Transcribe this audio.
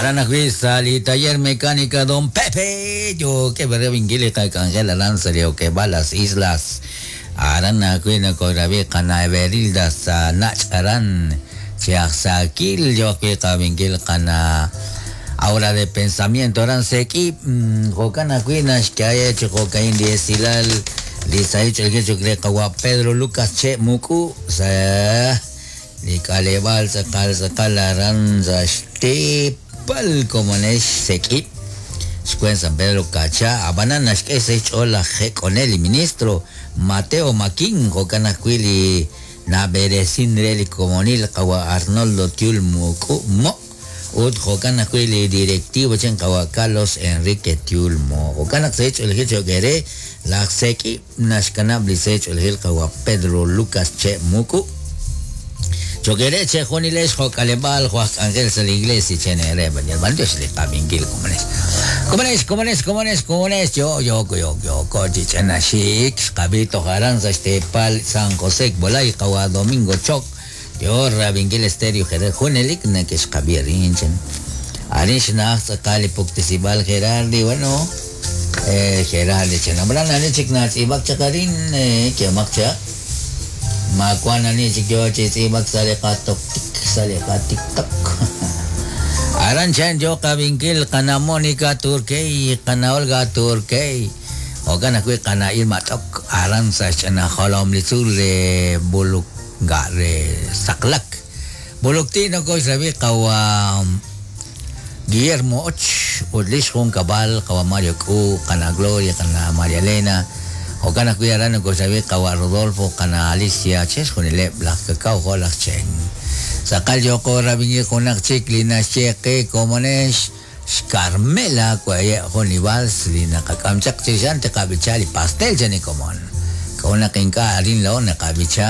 Aran ajwi' sa' li taller mecánica Don Pepe yookeb' rab'inkil li qak'anjel aran sa' li okeb'aal Las Islas. Aran ajwi' nokoorab'i qana' Everilda sa' nach' aran chi aj saakil yo ajwi' qab'inkil qana' Aura de Pensamiento aran Sek'ib'. Jo'kan ajwi' naxk'e chi jo'ka'in li esilal li sahil ch'oolejil cho'q re qawa' Pedro Lucas Che' Muk'u sa' Li k'aleb'aal tz'aqal tz'aqal aran sa' xteepal komonex Sek'ib', xweent San Pedro Kacha, ab'anan naxk'e sa' xch'ool laj jek'onel li ministro Mateo Maquín, jo'kan ajwi' li nab'eresin re li komonil qawa' Arnoldo Tiul Muk'u Mo' ut jo'kan ajwi' li directivo chan qawa' Carlos Enrique Tiul Mo'. Jo'kan naq sa' xch'oolejil cho'q eere laj Sek'ib'. Naxkanab' li se ch'oolejil qawa' Pedro Lucas Che' Muk'u. Cho'q eere chejunilex jo' k'aleb'aal jo' aj k'anjel sa' li Iglesia chen eere b'an b'antiox li qab'inkil komonex. Komonex, komonex, komonex, komonex, yo, yo, yo, yooko chi ch'ina xik xqab'i toj aran sa' xteepal San José Kbolay qawa' Domingo Choc yo rab'inkil Estéreo Jerez junelik nakexqab'i arin chan. Arin xna'aj tz'aqal li puktesib'aal Gerardi, bueno, Gerardi chan. Ab'anan ani chik natz'iib'ak chaq arin, kehomaq chaq. Ma wank ani chik yo chi tz'iib'ak sa' li qatoktik, sa' li qatiktok. Aran chan yo qab'inkil qana' Mónica Turkey, qana' Olga Turkey. Jo'kan ajwi' qana' Irma T'ok aran sa' xch'ina jolom li tzuul re Buluk Ga re saqlak. Bulukti nokoxrabi qawa Guillermo Och ut lix junkab'al qawa Mario K'u, qana Gloria, qana Maria Elena. Jo'kan ajwi' aran nokoxrabi qawa Rodolfo, qana Alicia, chixjunileb' laj Kakaw jo' laj Chen. Tz'aqal yooqo rab'inkil junaq chik li naxye qe komonex xCarmela waye' jun li vals li naqak'am chaq chirix a'an tiqab'icha li pastel chan li komon. K'a'ut naq ink'a' arin laa'o naqab'icha?